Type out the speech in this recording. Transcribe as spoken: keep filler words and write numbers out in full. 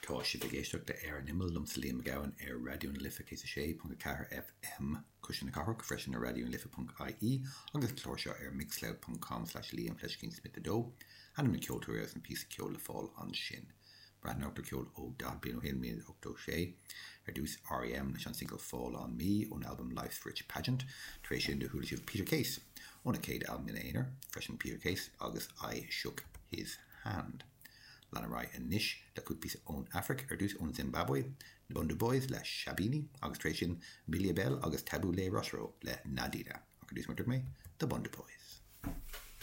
Tá sibh ag éisteacht le Ar an Imeall liomsa Liam Mac Gabhann ar Raidió na Life céad a sé ponc a ceathair FM Cuisle na Cathrach freisin ar Raidió na Life ponc IE agus clár seo ar mixcloud ponc com slash Liam fleiscín Smith a dó. Ainm na ceoltóirí agus an píosa ceoil le fáil ansin. Breathnóir ceol ó daichead bliain ó shin míle ochtó sé ar dtús R.E.M. leis an single Fall on Me ón album Life's Rich Pageant, tar éis sin do chuala sibh Peter Case óna chéad albam ina aonar, freisin Peter Case agus I Shook His Hand. Lean ar aghaidh anois le cúpla píosa ón Afraic ar dtús ón Zimbabwe, na Bhundu Boys le Shabini agus tar éis sin Mbilia Bel agus Tabu Ley Rochereau le Nadina. Ach ar dtús mar dúirt mé, The Bhundu Boys.